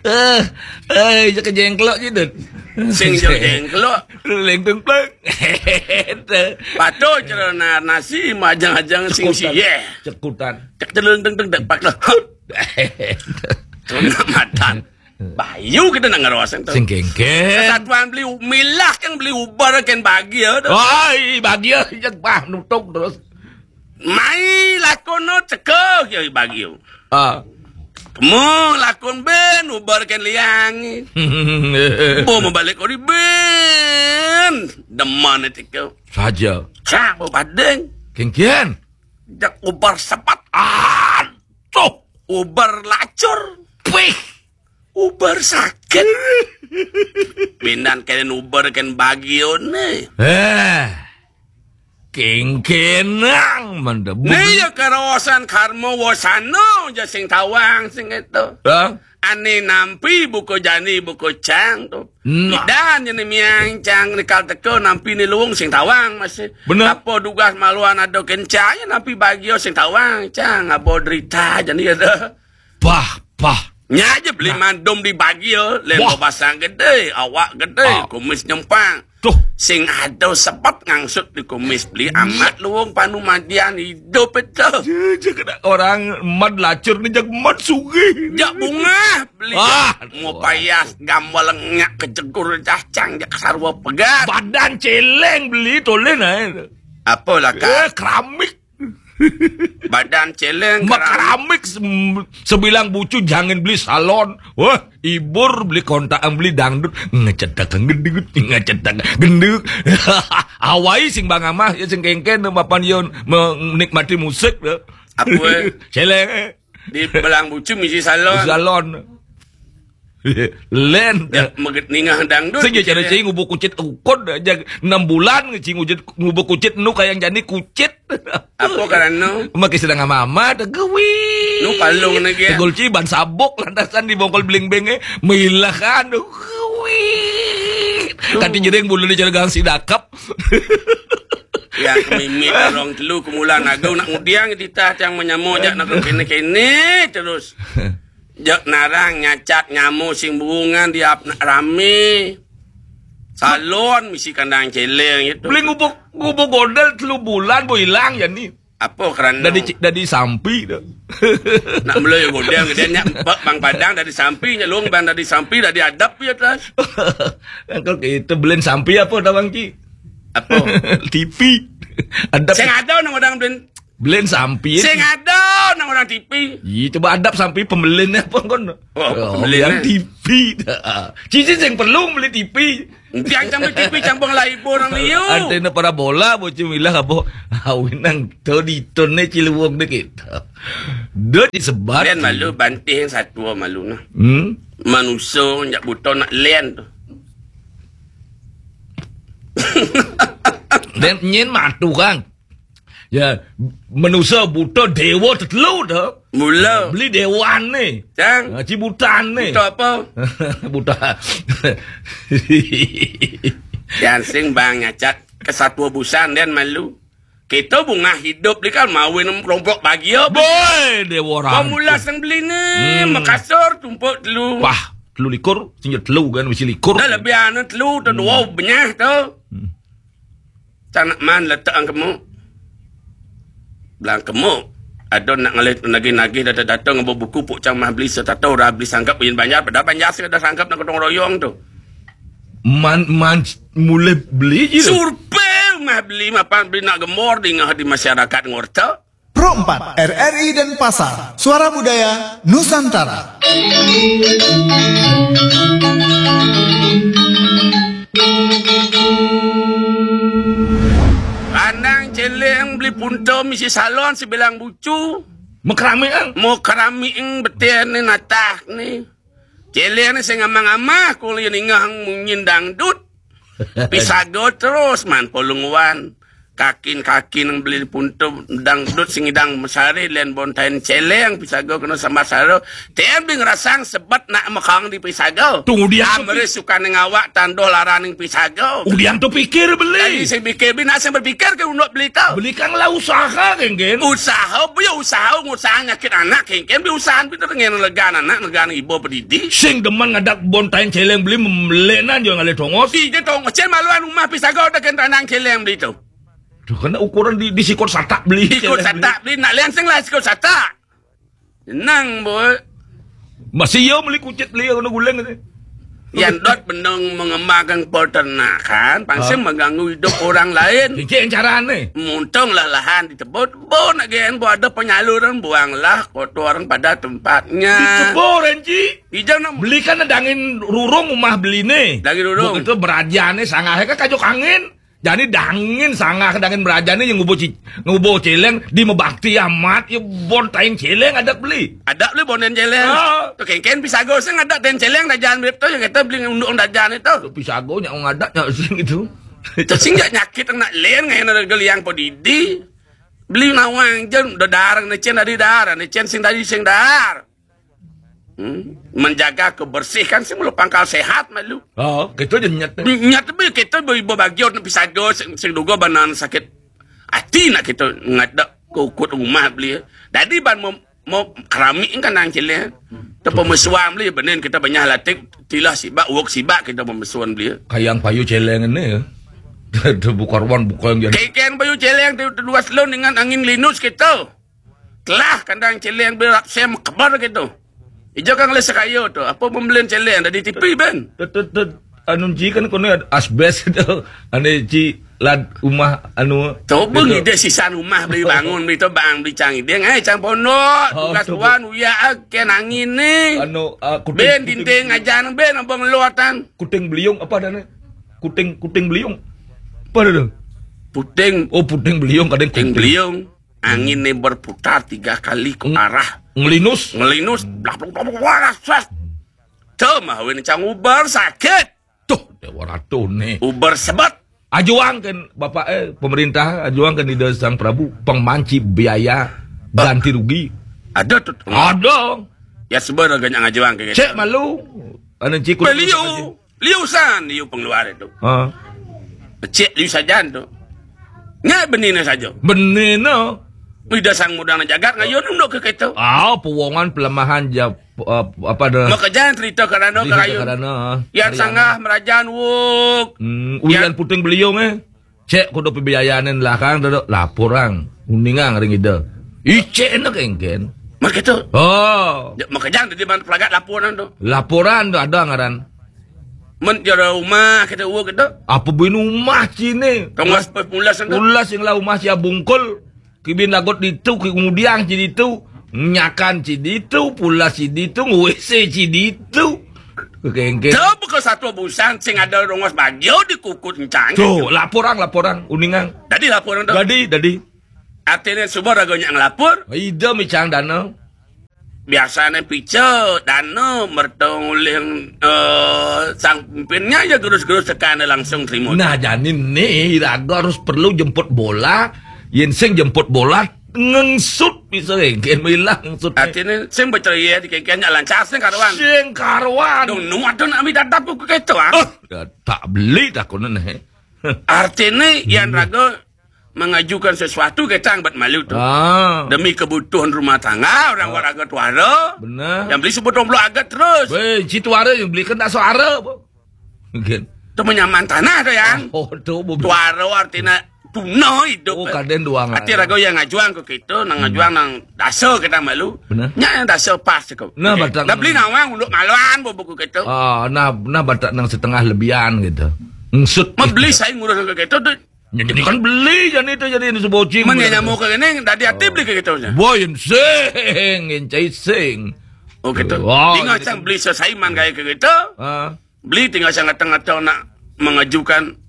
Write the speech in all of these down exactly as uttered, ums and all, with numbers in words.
Eh, eh, jaka jengklok je, Dut. Sing jaka jengklok. Lengtung pleng. Patuh cara na-, nasi majang-ajang sing Cekutan. Siyeh. Cekutan. Cek telung teng teng dek pak lah. Tuna matan. Bayu kita nak ngerosen tu. Sing kengken. Kesatuan beli milah kan beli ubar kan bahagia tu. Ai, bahagia je bah nutup terus. Mai lakon no cekeh ya bahagia. Ah. Kemu lakon ben ubar kan liang. Bo membalik ori ben. Deman itu. Saja. Cak bo badeng. Kengken. Jak ubar sepat. Aduh. Ubar lacur. Pih. Ubar sakit. Bindan kalian ubar kan bagione. Eh. Kengkenang mantap. Ni ya karawasan karma wasana ja sing tawang sing itu. Ha? Ane nampi buku jani buku cang tu. Nah. Dan jani miang cang ni kal teka nampi ni luung sing tawang masih. Benar. Apa dugas maluan ada kencang ya nampi bagia sing tawang cang abo derita jani ada. Pah, pah. Nya aja beli mandum di bagia, lem basang gede, awak gede, kumis nyempang. Tuh. Sing ada sebab ngangsut di kumis beli amat luung panu madian hidup itu. Je, je kena orang mad lacur ni jak mad sugih. Jak bunga beli. Ah, mau payas gambar lenyak kejegur cacang jak sarwa pegat. Badan celeng beli tolin ae. Apa lah, Kak? Eh, keramik. Badan celeng. Mak keramik. Keramik sem-, sebilang bucu jangan beli salon. Wah, ibur beli kontakan beli dangdut. Ngecetak gendut, ngecetak gendut. Awai sing bang amah, ya sing kengken, mapan yon menikmati musik. Apa? Celeng, eh. Di belang bucu misi salon. Salon. Len. Ya, meget ningah dangdut. Sing cara cing ngubu kucit ukun aja enam bulan cing ngubu kucit nu kayang jani kucit. Apa karena? Makai sedang ama-ama tu gewi. Nu palung ni ge. Tegul ci ban sabuk lantasan di bongkol bling benge milahan tu gewi. Kati jering bulu ni cara gang si dakap. Ya kemimit orang telu kemulan agung nak ngudiang ditah yang menyamuk jak nak kene-kene terus. Jak narang nyacat nyamu sing burungan di ap nak rame. Salon misi kandang celeng itu. Beli ngubuk, ngubuk godel telu bulan bo ilang ya ni. Apa kerana? Dari ci-, dari sampi tu. Nak mula ya godel dia nyak empat bang padang dari sampi nyak long bang dari sampi dari adap ya terus. Kalau kita beli sampi apa tawang ki? Apa? T V. Adap. Sing ada nang orang beli Belen sampi. Sing ada nang orang T V. Ih, coba adap sampi pembelen apa kon? Oh, apa pembelen, yang eh? T V dah. Cici sing perlu beli T V. Tiang cang beli T V campur lah ibu orang liu. Antena parabola bocah milah apa? Awin nang tu di tun ni ciluang dikit. Dot disebat. Len malu banting satu malu nah. Hmm? Manusia nyak buto nak len tu. Dan nyen matu kang. Ya, manusia buta dewa tetelu tu. Mula. Beli dewan ni. Cang. Ha, cibutan ni. Buta apa? Buta. Yang sing bang nyacat kesatu busan dan malu. Kita bunga hidup ni kan mawin kelompok bahagia. Boy, dewa orang. Pemula sang beli ni. Hmm. Makassar tumpuk telu. Wah, telu likur, sehingga telu kan, mesti likur. Dah lebih anu telu tu dua benyah tu. Hmm. Cang nak man letak ang kemu. Belang kemu. Ada nak ngalih nagih-nagih datang-datang ngambil buku puk cang mah beli setato ora beli sangkap yin banjar pada banjar sing ada sangkap nak gotong royong tu. Man, man, mulai beli je tu. Survei mah beli mapan beli nak gemor di ngah di masyarakat ngorta. Pro empat, R R I Denpasar, Suara Budaya Nusantara. Kandang celeng beli punto misi salon sebilang bucu. Mau keramik ang? Mau keramik ang beten ni natah ni. Celeng ni sing amang-amah kuli ningah munyin dangdut. Pisaga terus man polunguan. Kakin-kakin beli puntu dangdut sing idang mesari len bontain celeng pisago kena sambat saro. Ten bing rasang sebet nak mekang di pisago. Tunggu dia tu Amri pi- suka ning awak tandoh laraning pisago. Udian tu pikir beli. Lagi sing pikir beli nak sing berpikir ke unduk beli tu. Beli kang lah usaha, geng, geng. Usaha, bu ya usaha, ngusaha nyakit anak, geng, geng. Beli usaha, beli tu ngen legan anak, legan ibu pedidi. Sing demen ngadak bontain celeng beli memelenan jo ngalih tongos. Di je tongos, cen maluan rumah pisago ada kentang celeng beli tu. Tuh, kena ukuran di, di sikut satak beli. Sikut satak beli, nak lian sing lah sikut satak. Nang, boy. Masih yo beli kucit beli kena guling tu. Yan dot bendung mengembangkan peternakan, pangsa Ah. mengganggu hidup orang lain. Cicing carane. Muntung lah lahan ditebut, bo nak gen, bo ada penyaluran, buanglah kotoran pada tempatnya. Ditebur, Enci. Ijang nak Beli kan dangin rurung rumah beli ni. Dangin rurung. Bo itu berajane sangahe kan kajuk angin. Jadi dangin sangah dangin merajane yang ngubuh ci, ngubuh celeng di mebakti amat ya bontain celeng ada beli. Ada beli bontain celeng. Ah. Tu kengken pisago sing ada ten celeng dah jangan beli tu yang kita beli unduk dah jangan itu. Tu pisago nyak ngadak nyak sing itu. Tu sing jak nyakit nak len ngai nak geliang podidi. Beli nawang jen dah darang ni cen dari darang ni cen sing dari sing dar. Hmm? Menjaga kebersihan sih mulu pangkal sehat malu. Oh, gitu je nyet. Nyet be kita be ibu bagi orang pisago sing, sing duga banan sakit hati nak kita ngadak ke ukut rumah beli. Jadi ban mau, mau keramik kan nang cile. Te pemesuam beli benin kita banyak latih tilah sibak, wok sibak kita pemesuan beli. Kayang payu celeng ini ya. Ada buka ruang buka yang jadi. Keken payu celeng tu dua selon dengan angin linus kita. Telah kandang celeng berak sem kebar gitu. Ijo kang le sekayo tu. Apa pembelian celeng dari T P ben? Tut tut tut. Anu ji kan kono asbes itu. Ane ji lad rumah anu. Coba gitu. Ngide sisan rumah beli bangun beli tu bang beli cang ide ngai cang pondok. Oh, tugas coba. Tuan uya ken angin ni. Anu uh, kuting, ben kuting, dinding ajan ben abang luatan. Kuting beliung apa dah ni? Kuting kuting beliung. Apa dah tu? Puting. Oh puting beliung kadang kuting beliung. Angin ni berputar tiga kali ke arah. Ngelinus. Ngelinus. Blak blak blak blak. Waras sas. Tu mah win cang uber sakit. Tuh, dewa ratu ni. Uber sebet. Ajuang kan bapak eh pemerintah ajuang kan ida sang Prabu pengmanci biaya ganti rugi. Ada tu. Ada. Ya sebenarnya ngajuang ke. Cek malu. Anu ciku. Beliau. Liu san, liu pengeluar itu. Ha. Cek liu sajan tu. Nya benina saja. Benina. Ida sang muda na jagat ngayon unduk ke kita. Ah, pewongan pelemahan ja uh, apa ada. Maka jangan cerita kerana kerana. Yang sanggah merajaan wuk. Hmm, ulian puting beliung eh. Cek kudu pibiayanin lah kang duduk laporan. Uningang ring ida. Icek enak engken. Maka tu. Oh. Maka jangan di mana pelagat laporan tu. Laporan tu ada ngaran. Men jara rumah kita uwa kita. Apa bin rumah cine? Tongos pe pulas anda. Pulas yang lah rumah sia bungkul. Kibin lagot ditu, ki ngudiang ci ditu. Nyakan ci ditu, pulas ci ditu, ngwese ci ditu. Kengkeng. Tahu bukan satu busan sing ada rongos bagio di kukut encang. Tuh, laporan, laporan, uningang. Dadi laporan tu. Dadi, dadi. Artinya suba raga nyak ngelapor. Ida micang dana. Biasane pica dana merta nguling uh, sang pimpinnya ya gerus-gerus tekan langsung terima. Nah, jani ni raga harus perlu jemput bola. Yen sing jemput bola ngengsut bisa engken milah ngengsut. Artine sing berceria di kengkenya lancar sing karuan. Sing karuan. Dong nuat dong nak ambil dadap buku keto ah. Uh, tak beli tak kono nih. Artine yang raga mengajukan sesuatu kita angbat malu tu. Ah. Demi kebutuhan rumah tangga orang ah. Waraga tuara. Benar. Yang beli sebut belum agak terus. Weh, si tuara yang beli kena suara apa? Mungkin. Tu menyaman tanah tu yang. Oh, tu tuara artinya punah hidup. Oh, kaden dua. Arti raga yang ngajuang ke kita, nang ngajuang nang dasa kita malu. Benar. Nya yang dasa pas tu. Nah, okay. Batak dah beli nawang untuk maluan buku kita. Ah, nah, nah batak nang setengah lebihan gitu. Ngesut. Membeli saya ngurus ke kita tu. Jadi kan beli jadi itu jadi ini sebocing. Mana nyamuk ke ini dari hati beli ke kita punya. Boy sing, encai sing. Oh gitu. Oh, tinggal gitu. Cang beli sesaiman kayak ke kita. Ah. Beli tinggal cang ngata-ngata nak mengajukan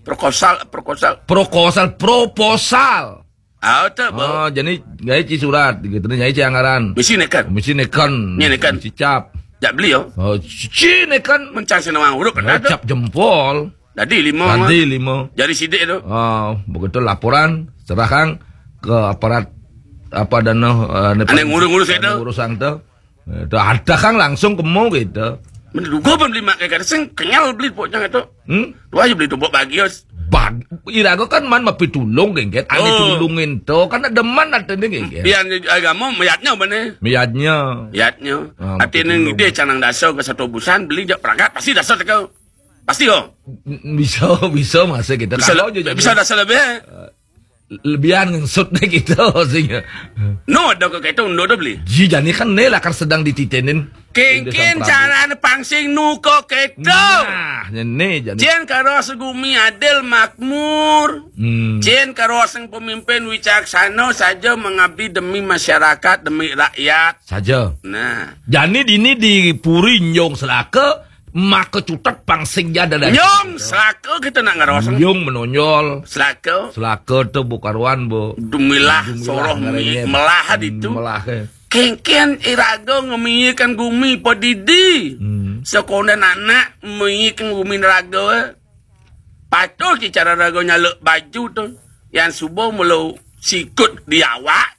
proposal, proposal. Proposal, proposal. Ah, tu. Oh, jadi gaya ci surat gitu, gaya ci anggaran. Misi nekan. Misi nekan. Nya nekan. Misi cap. Jak beli yo. Oh, ci nekan. Mencang senawang urut kan. Cap jempol. Dadi lima. Dadi lima. Jadi sidik tu. Ah, begitu laporan, serahkan ke aparat apa dana, eh, Ane ngurus-ngurus itu. Ngurusang tu. Eh, tu ada kang langsung kemu gitu. Menduga pun beli mak kaya sing kenyal beli poknya tu. Hmm? Tu aja beli tumbuk bagius. Bag, iraga kan man mapitulung, Kengken. Ane tulungin tu kan ada man ada ni, Kengken. Pian agama mayatnya bane. Mayatnya. Mayatnya. Ah, artinya mapitulung. Dia canang dasa ke satu busan beli jak perangkat pasti dasa teka. Pasti kau. Bisa, bisa masa kita. Bisa, kalau je bisa jadi dasa lebih. Lebihan ngengsut deh kita sehingga. No, ada ke kita undur tu beli. Ji jani kan ne lah kan sedang dititenin. Kengken cara pangsing nu ko kita. Nah, ne jani. Cien karo segumi adil makmur. Hmm. Cien karo sing pemimpin wicaksana saja mengabdi demi masyarakat, demi rakyat. Saja. Nah. Jani dini di puri nyong selaka maka cutet pangsing jada dari. Nyong selaka kita nak ngarosang. Nyong menonjol. Selaka. Selaka tu bukaruan bu. Dumilah soroh melah itu. Melah. Kengken iraga ngemiikan gumi padidi. Hmm. Sekolah anak memiikan gumi raga. Patuh ki cara raga nyaluk baju tu. Yang subuh melu sikut di awak.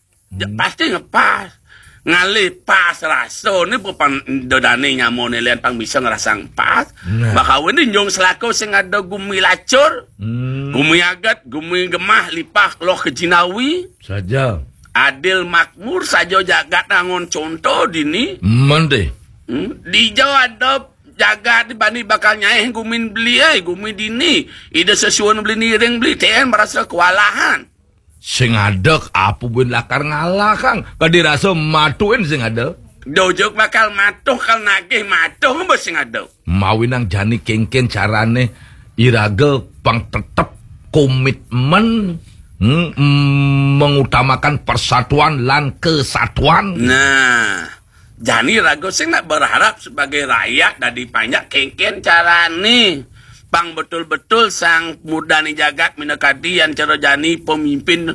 Pasti ngepas. Ngalih pas rasa ni bukan dodane nyamone lian pang bisa ngerasang pas. Nah. Bakawin ni nyong selaku sing ada gumi lacur, hmm, gumi agat, gumi gemah, lipah, loh kejinawi. Saja. Adil makmur saja jagat angon contoh dini. Mende. Hmm? Dija ada jagat di bani bakal nyaih gumin beli, eh, gumi dini. Ida sesuun beli niring beli, ten merasa kewalahan. Sing ada apa buin lakar ngalah, Kang? Kadi rasa matuin sing ada. Dojuk bakal matuh kal nagih matuh mba sing ada. Mawinang jani kengken carane iraga pang tetep komitmen, hmm, mm, mengutamakan persatuan lan kesatuan. Nah, jani raga sing nak berharap sebagai rakyat dadi panjak kengken carane. Pang betul-betul sang mudane jagat minakadi yang cara jani pemimpin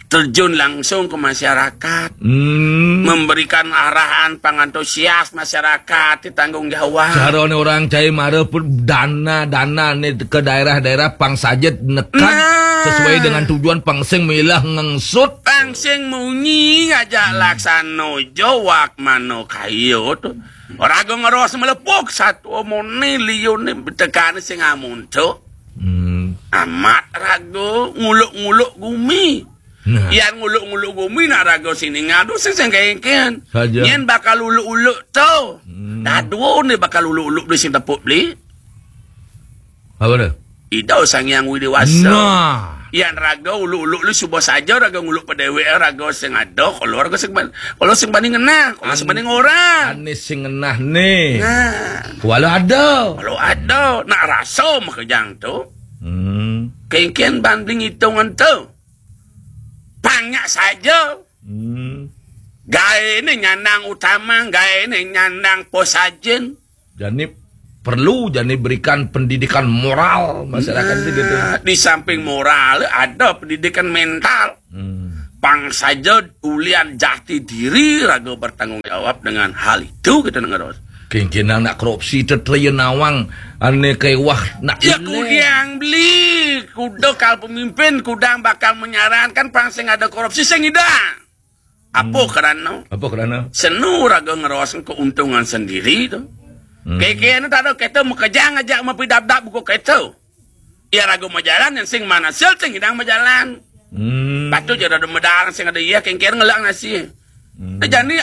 terjun langsung ke masyarakat. Hmm. Memberikan arahan pang antusias masyarakat di tanggung jawab. Carane orang cai mara pun dana-dana ni ke daerah-daerah pang sajet nekan. Nah. Sesuai dengan tujuan pang sing milah ngengsut. Pang sing munyi ngajak laksano jawak mano kayo tu. Raga ngeros melepuk satu omone liune betekan sing amun tu. Hmm. Amat raga nguluk-nguluk gumi. Nah. Yan nguluk-nguluk gumi nak raga sini ngadu sing sing kengken. Saja. Nyen bakal uluk-uluk tu. Hmm. Dadu ni bakal uluk-uluk beli sing tepuk beli. Apa tu? Ida Sang Hyang Widi Wasa. Nah. Yan raga uluk-uluk lu suba saja raga nguluk pedewek raga sing ada kalau raga sing ban-, kalau sing banding ngenah, kalau sing banding orang. Ane sing ngenah ni. Nah. Walau ada. Kalau ada nak rasa makejang tu. Hmm. Kengken banding hitungan tu. Panyak saja. Hmm. Gae ni nyandang utama, gae ni nyandang posajen. Jani perlu jani berikan pendidikan moral masyarakat sih gitu. Nah, di samping moral ada pendidikan mental. Hmm. Pang saja ulian jati diri raga bertanggung jawab dengan hal itu kita dengar. Kengkenang nak korupsi tetraya nawang ane kewah nak ya ileh. Kudang beli kuda kal pemimpin kudang bakal menyarankan pang sing ada korupsi sing idang. Apa kerana? Apa kerana? Senu raga ngeros keuntungan sendiri tu. Hmm. Keke ni tak ada kata mekejang aja mapidap-dap buku kata. Ya raga majalan yang sing mana sil sing idang majalan. Hmm. Patut je ada medal sing ada iya kengker ngelak nasi. Hmm. Nah, jani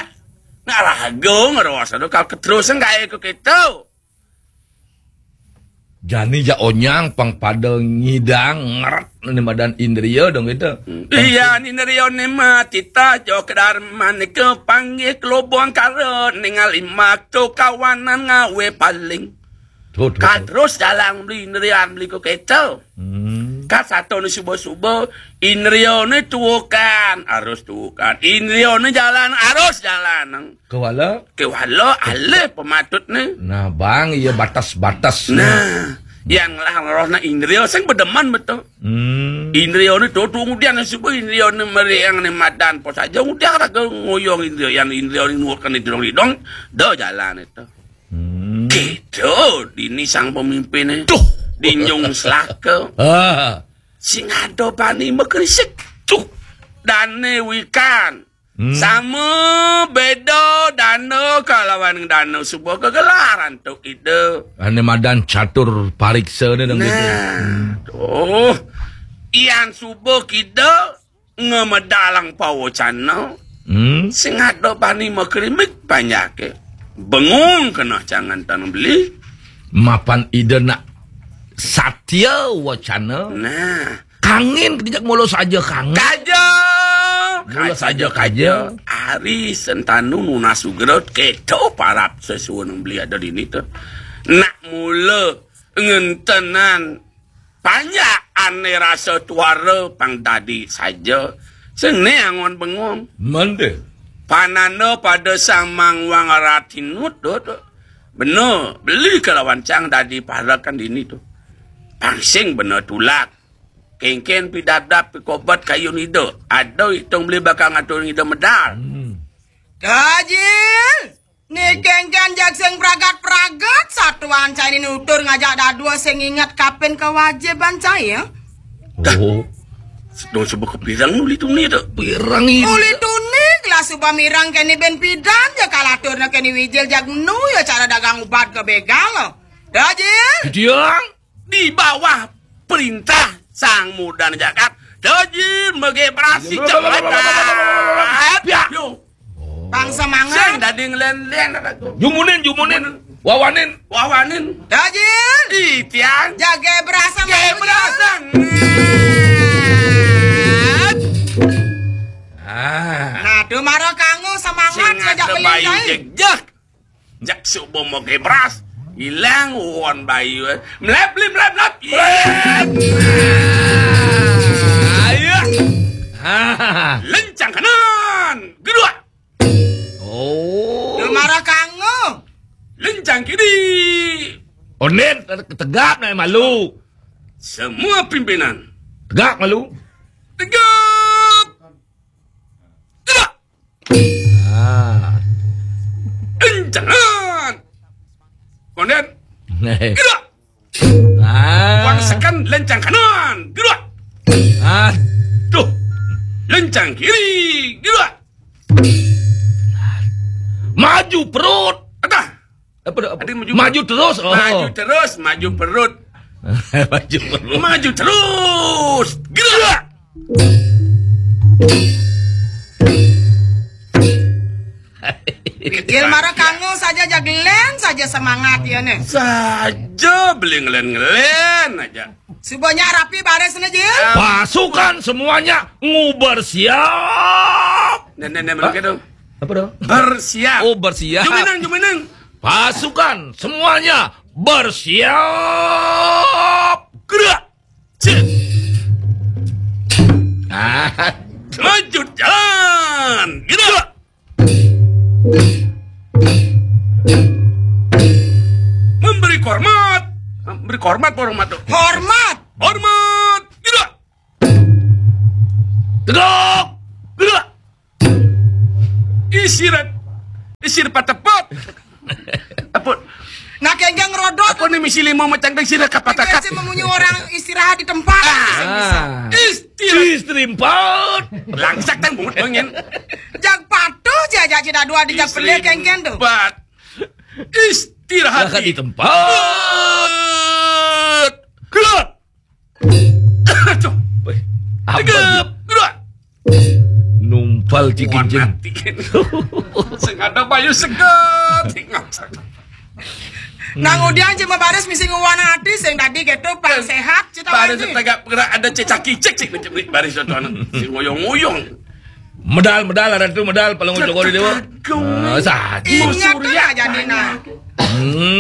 nak raga ngeros tu kal keterusan gaya ke kata. Jani ja onyang pang pada ngidang ngeret ni madan indria dong kita. Iya, ni indria ni mati ta jo kedar manika panggih kelobong kara ningali makto kawanan ngawe paling. Tuh, tuh, tuh. Terus jalan beli indrian beli ko keto. Hmm. Kat satu ni subuh-subuh indria ni tuukan, harus tuukan. Indria ni jalan, harus jalan. Kewala? Kewala alih pematut ni. Nah, bang, iya batas-batas. Nah, yang lah roh na indria sing bedeman betul. Hmm. Indria ni tu tu kemudian sebut indria ni meriang ni madan pos aja udah raga ngoyong indria yang indria ni nuatkan di dong dong dah jalan itu. Hmm. Gitu dini sang pemimpin ni. Tuh. Dinyung selaka. Ah. Sing ada bani makrisik. Tuh. Dane wikan. Hmm. Sama beda dana kalawan dana suba kegelaran tu ida. Ane madan catur pariksa ni dong gitu. Nah, tuh. Ian suba kida ngemedalang pawacana. Hmm. Sing ada bani makrimik panjake. Bengong kena cangan tanah beli. Mapan ida nak satya wacana. Nah. Kangin kejak mula saja kangin. Kaja. Mula saja kaja. Ari sentanu nunas ugrot keto parap sesuun beli ada dini tu. Nak mula ngentenan panjak ane rasa tuara pang dadi saja. Sene angon bengong. Mande. Pananda pada sang mangwang ratinut tu, tu. Bener, beli kelawan cang dadi parakan dini tu. Pangsing bener tulak. Kengken pidabdab pikobat kayu nida. Ada itung beli bakal ngatur nida medal. Hmm. Dajil! Ni kengken jag sing pragat-pragat, satuan cai ni nutur ngajak dadua sing ingat kapen kewajiban cai, ya? Oh. Sedang sebut kepirang uli tuni tu. Pirang ini. Uli tuni, kelas suba mirang keni ben pidan, ya kalaturna keni wijil jag nu, ya cara dagang ubat ke begal. Dajil! Diang. Di bawah perintah Sang Mudan Jagat, Dajil mege berasi cepat. Ya. Yo. Bangsa mangan. Sing dadi ngelen-len aku. Jumunin, jumunin. Wawanin. Wawanin. Dajil. Di tiang. Jage berasa. Jage berasa. Ah. Nah, tu mara kanggo semangat sing ngajak ada bayu beli. Jeg, jeg. Jak subuh mau kebras, ilang won bayu, eh. Melep, melep, melep, melep. Iya. Ayo. Ah. Lencang kanan, kedua. Oh. Marah kanggo. Lencang kiri. Onen, tegap naik malu. Semua pimpinan. Tegak malu. Tegap. Gerak. Ah. Kencang. Konden. Gerak. Ah. Wangsakan lencang kanan. Gerak. Aduh. Lencang kiri. Gerak. Maju perut. Atah. Apa dah? Apa? Ada maju. Maju terus. Oh. Maju terus, maju perut. Maju perut. Maju terus. Gerak. Gil marah kanggo saja jagelen saja semangat ya ne. Saja beli ngelen-ngelen aja. Subanya rapi baris ne, Jil. Pasukan semuanya nguber siap. Nen, nen, nen, begitu. Apa dah? Bersiap. Oh, bersiap. Juminang, juminang. Pasukan semuanya bersiap. Gerak. Cek. Ah. Maju jalan. Gerak. Memberi hormat. Memberi hormat, hormat. Hormat. Hormat. Gerak. Tegak. Gerak. Isirat. Isir patepot. Apa? Nak kenggang rodot. Apa ni misi lima macam dah sira kapat-kapat. Biasa memunyi orang istirahat di tempat. Ah. Istirahat. Istri empat. Langsak tang bungut mengin. Jak patuh je ajak cina dua di jak pelih kengkeng tu. Empat. Istirahat di tempat. Keluar. Aduh. Weh, tegap. Gerak. Numpal cikin. Sing ada bayu segar. Nang udian cuma baris misi nguan hati sing tadi gitu pang sehat cita baris lagi. Tegak gerak ada cecak kicik cik baris itu anak sing ngoyong-ngoyong. Medal, medal, ada tu medal, paling ujung kori dewa. Ingat tu lah jadi nah. Hmm.